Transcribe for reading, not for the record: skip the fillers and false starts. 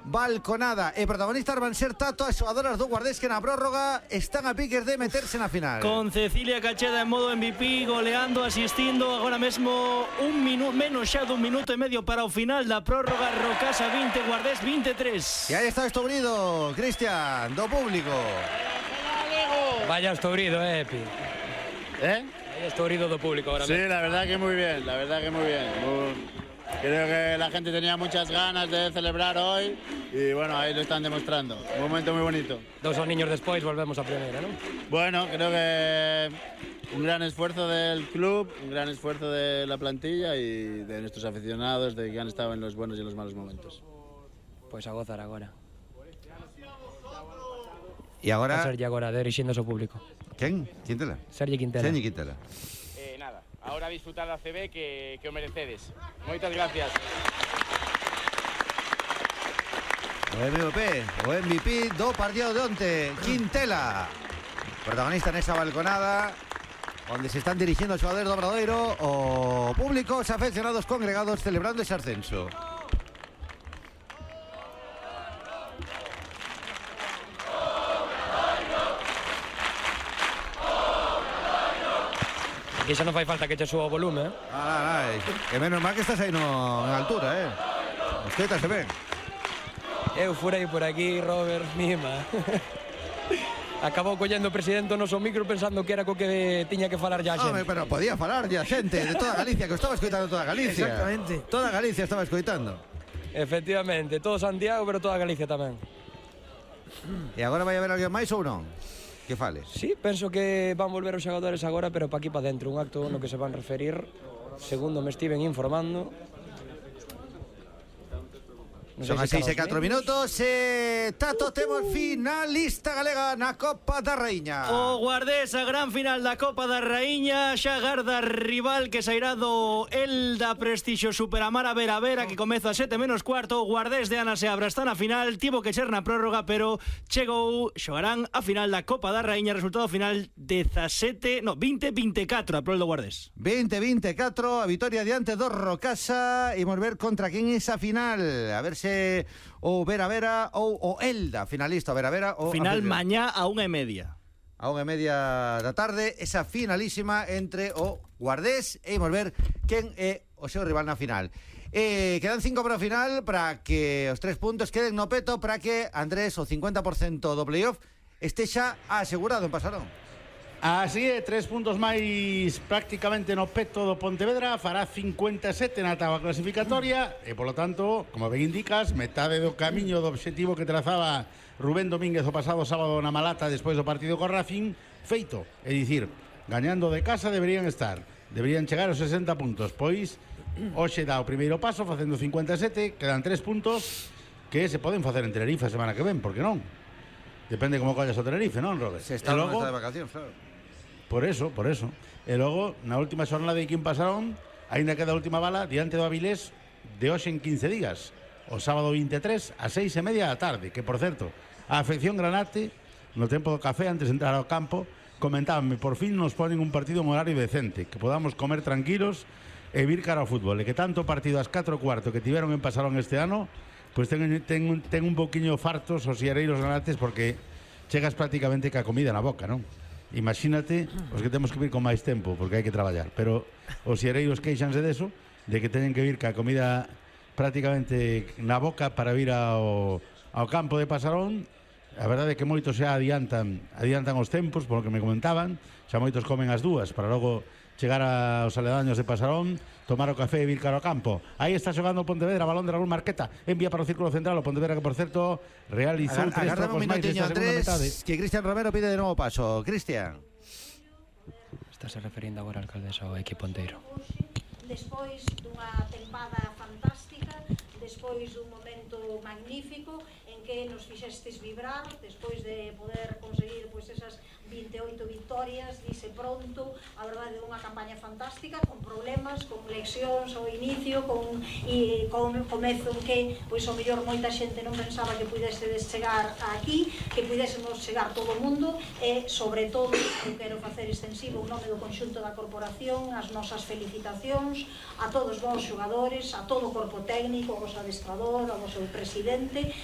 balconada. E protagonistas van ser Tato, as xogadoras do Guardés que na prórroga están a piques de meterse na final. Con Cecilia Cacheda en modo MVP, goleando, asistindo. Agora mesmo menos xa dun minuto e medio para o final da prórroga. Rocasa 20, Guardés 23. E aí está estobrido, Cristian, do público. Vaya estobrido, Epi. Vaya estobrido do público ahora mismo. Sí, la verdad que muy bien, la verdad que muy bien. Creo que la gente tenía muchas ganas de celebrar hoy y bueno, ahí lo están demostrando. Un momento muy bonito. 2 niños despois volvemos a primeira, ¿no? Bueno, creo que un gran esfuerzo del club, un gran esfuerzo de la plantilla y de nuestros aficionados, de que han estado en los buenos y en los malos momentos. Pois a gozar agora. E agora... A Sergi agora, dirixéndose ao público. Quen? Quintela? Sergi Quintela. Sergi Quintela. Nada, ahora disfrutar da CB que o merecedes. Moitas gracias. O MVP do partido de onte, Quintela. Protagonista nesa balconada, onde se están dirigindo os xogadores do Obradoiro, o público, os afeccionados congregados celebrando ese ascenso. Aquí xa non fai falta que che suba o volume, Que menos mal que estás aí en altura, Escoitase ben. Eu furei por aquí, Robert, mima. Acabou collendo o presidente o noso micro pensando que era co que tiña que falar ya xente. Pero podía falar ya xente de toda Galicia, que estaba escoitando toda Galicia. Exactamente. Toda Galicia estaba escoitando. Efectivamente, todo Santiago, pero toda Galicia tamén. E agora vai haber alguén máis ou non? Que fales? Sí, penso que van volver os xogadores agora, pero pa aquí pa dentro, un acto no que se van referir, segundo me estiven informando. Son as 6:04 minutos. Tato, temos finalista galega na Copa da Raíña. O Guardés, a gran final da Copa da Raíña. Xa garda rival que sairá do Elda Prestixio Superamara Vera Vera, que comeza a 7:15. O Guardés de Ana Seabra está na final. Tivo que ser na prórroga, pero chegou. Xogarán a final da Copa da Raíña. Resultado final 20-24 a prol do Guardés. 20-24, a vitoria diante do Rocasa. Imos ver contra quen é esa final. A ver se o Vera Vera ou o Elda, finalista o Vera Vera. Final mañá a 1:30. A 1:30 da tarde, esa finalísima entre o Guardés e imos ver quen é o seu rival na final. Quedan 5 para o final para que os 3 puntos queden no peto, para que Andrés o 50% do playoff este xa asegurado en Pasarón. Así é, 3 puntos máis prácticamente no peto do Pontevedra, fará 57 na táboa clasificatoria e, polo tanto, como ben indicas, metade do camiño do obxectivo que trazaba Rubén Domínguez o pasado sábado na Malata despois do partido co Racing, feito. É dicir, gañando de casa deberían chegar aos 60 puntos, pois hoxe dá o primeiro paso facendo 57, quedan 3 puntos que se poden facer en Tenerife a semana que ven, por que non? Depende como collas o Tenerife, non, Robert? Se está logo, de vacacións, claro. Por eso. E logo, na última xornada de Quim Pasarón, aínda queda a última bala diante do Avilés de hoxe en 15 días. O sábado 23 a 6:30 da tarde, que, por certo, a afección granate, no tempo do café, antes de entrar ao campo, comentábanme, por fin nos ponen un partido en horario decente, que podamos comer tranquilos e vir cara ao fútbol, e que tanto partido ás 4:15 que tiveron en Pasarón este ano, pois ten un poquinho fartos os iareiros granates, porque chegas prácticamente ca comida na boca, non? Imagínate os que temos que vir con máis tempo porque hai que traballar, pero os xereiros queixanse deso, de que teñen que vir ca comida prácticamente na boca para vir ao campo de Pasarón. A verdade é que moitos xa adiantan os tempos, polo que me comentaban, xa moitos comen as 2 para logo chegar aos aledaños de Pasarón, tomar o café e vir cara ao campo. Aí está xogando o Pontevedra, balón de Raúl Marqueta, envía para o círculo central o Pontevedra, que por certo realizou 3 trocos máis desta segunda metade. Que Cristian Romero pide de novo paso. Cristian. Estás referindo agora, alcaldesa, ao equipo inteiro. Despois dunha tempada fantástica, despois dun momento magnífico en que nos fixestes vibrar, despois de poder conseguir pois esas 28 victorias, dice pronto, a verdade é unha campaña fantástica, con problemas, con lesións ao inicio, con comezo en que, pois o mellor moita xente non pensaba que pudésedes chegar aquí, que pudésemos chegar todo o mundo, e sobre todo, eu quero facer extensivo o nome do conxunto da corporación, as nosas felicitacións a todos vos xogadores, a todo o corpo técnico, ao vos adestrador, ao vosso presidente,